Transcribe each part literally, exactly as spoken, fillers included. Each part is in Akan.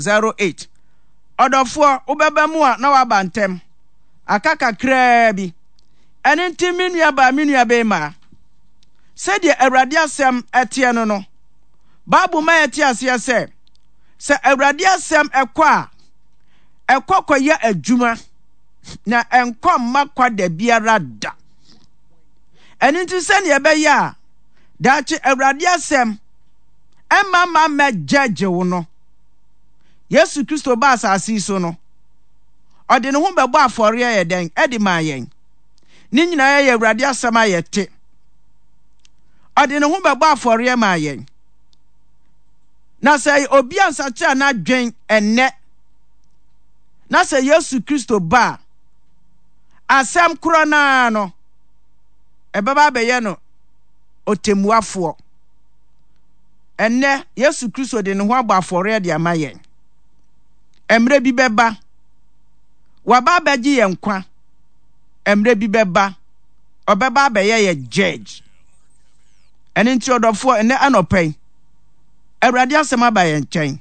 zero eight. Ɔdɔfoɔ, wobɛba mu a na waba ntɛm. Aka kakraa bi. Ɛno nti, me nuabaa, me nuabarima, sɛdeɛ Awurade asɛm teɛ no no, Bible ma yɛte aseɛ sɛ, sɛ Awurade asɛm ɛkɔ a, ɛkɔ kɔyɛ adwuma na ɛnkɔ mma kwa da biara da. Ɛno nti sɛdeɛ ɛbɛyɛ a daakye Awurade asɛm ɛmma mma mmɛgyɛgye wo no, Yesu Kristo ba asase yi so no, ɔde ne ho bɛbɔ afɔreɛ yɛ dɛn ɛde maa yɛn. Ne nyinaa yɛ Awurade asɛm a yɛte. Ɔde ne ho bɛbɔ afɔreɛ maa yɛn. Na sɛ obi ansakyera n'adwen ɛnnɛ, na sɛ Yesu Kristo ba a, asɛm korɔ no ara no, ɛbɛba abɛyɛ no ɔtɛmmuafoɔ. Ɛnnɛ, Yesu Kristo de ne ho abɔ afɔreɛ de ama yɛn. Mmerɛ bi bɛba, waba abɛgye yɛn nkwa. Mmerɛ bi bɛba, ɔbɛba abɛyɛ yɛ judge. Ɛno nti ɔdɔfoɔ, ɛnnɛ anɔpa yi, Awurade asɛm aba yɛn nkyɛn.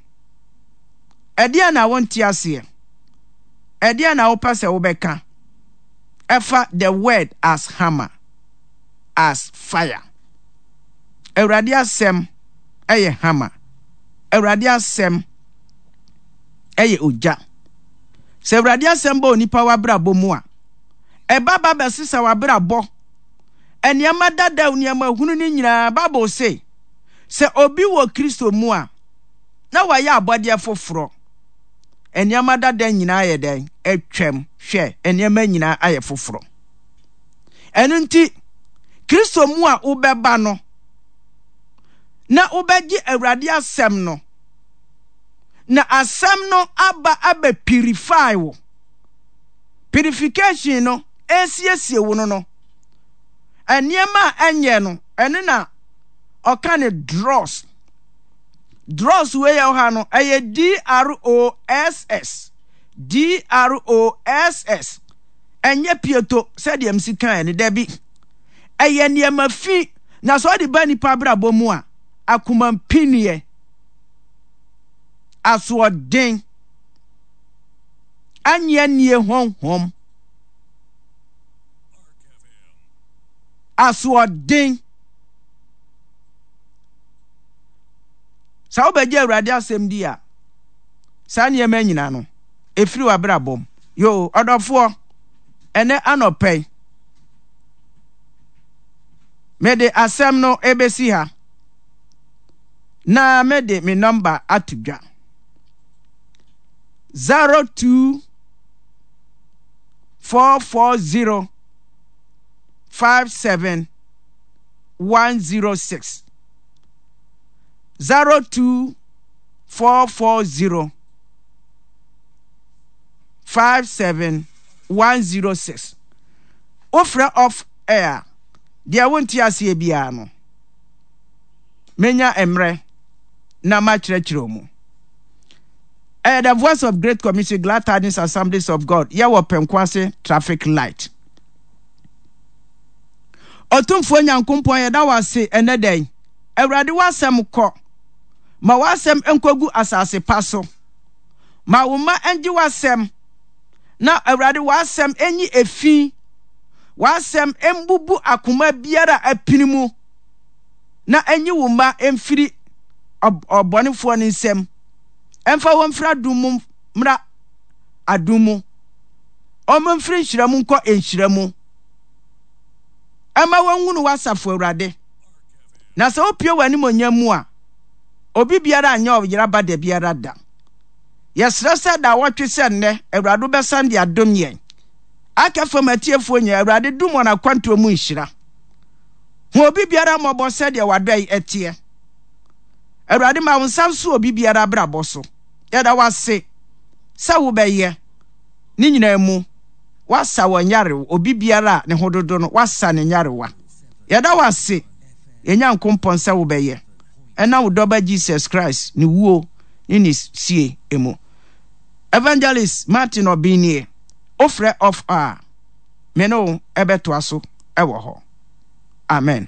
Ɛdeɛn na wonte aseɛ? Ɛdeɛn na wopɛ sɛ wobɛka ɛfa the word as hammer, as fire? Awurade asɛm ɛyɛ hammer. Awurade asɛm ɛyɛ ogya. Sɛ Awurade asɛm ba onipa w'abrabɔ mu a, ɛba ba bɛsesa w'abrabɔ. Nneɛma dadaw, nneɛma hunu no nyinaa, Bible se, sɛ obi wɔ Kristo mu a, na wayɛ abɔdeɛ foforɔ. Nneɛma dada nyinaa yɛ dɛn? Atwam. Hwɛ, nneɛma nyinaa ayɛ foforɔ. Ɛno nti, Kristo mu a wobɛba no, na wobɛgye Awurade asɛm no, na asɛm no aba abɛ purify wo. Purification no, esiesie wo no no. Nneɛma a ɛnyɛ no, ɛno na ɔka ne dross. Dross wei yɛ ɔha no, ɛyɛ D R O S S. D R O S S. Ɛnyɛ pieto sɛdeɛ msi kan no, dabi. Ɛyɛ nneɛma fi, na sɛ ɔde ba nipa abrabɔ mu a, akomampiniɛ, asoɔden, anyeanie honhom, asoɔden. Sɛ wobɛgye Awurade asɛm di a, saa nneɛma nyinaa no, ɛfiri w'abrabɔ mu. Yo, ɔdɔfoɔ, ɛnɛ anɔpa yi, mede asɛm no ɛbɛsi ha na mede me nɔmba ato dwa. zero two four four zero five seven one zero six zero two four four zero five seven one zero six. Wofrɛ off air, deɛ wonte aseɛ biara no, menya mmerɛ na makyerɛkyerɛ mu. Ɛyɛ The Voice of Great Commission, Glad Tidings Assemblies of God, yɛwɔ Pɛnkoase traffic light. Ɔtumfoɔ Nyankompɔn, yɛda wo ase ɛnɛ da yi. Awurade, w'asɛm kɔ. Ma w'asɛm nkɔgu asase pa so. Ma wo mma ngye w'asɛm. Na Awurade, w'asɛm nyi efi. W'asɛm mbubu akoma biara a apini mu. Na enyi wo mma mfiri ɔbɔnefoɔ no nsam. Ɛmfa wɔn mfiri adom mu mmra adom mu. Wɔn mfiri nhyira mu nkɔ nhyira mu. Ɛma wɔnhunu w'asafo Awurade. Na sɛ wopue w'animuonyam mu a, obi biara anyɛ ɔyera ba da biara da. Yɛsrɛ sɛ daawɔtwe sɛ nnɛ, Awurade wobɛsan de adom yɛn. Aka fam atiefoɔ nyinaa, Awurade dom wɔn akwantuo mu nhyira. Hu obi biara mmɔbɔ sɛdeɛ w'adɔe ɛteɛ. Awurade ma wo nsa nso obi biara abrabɔ so. Yɛda wo ase sɛ wobɛyɛ ne nyinaa mu. Woasa wɔn nyarewa, obi biara a ne ho dodo no, woasa ne nyarewa. Yɛda wo ase, yɛn Nyankopɔn, sɛ wobɛyɛ. Ɛnam wo dɔba Jesus Christ ne wuo ne ne sie mu. Evangelist Martin Obeng nie, wofrɛ off a, me ne wo ɛbɛtoa so ɛwɔ hɔ. Amen.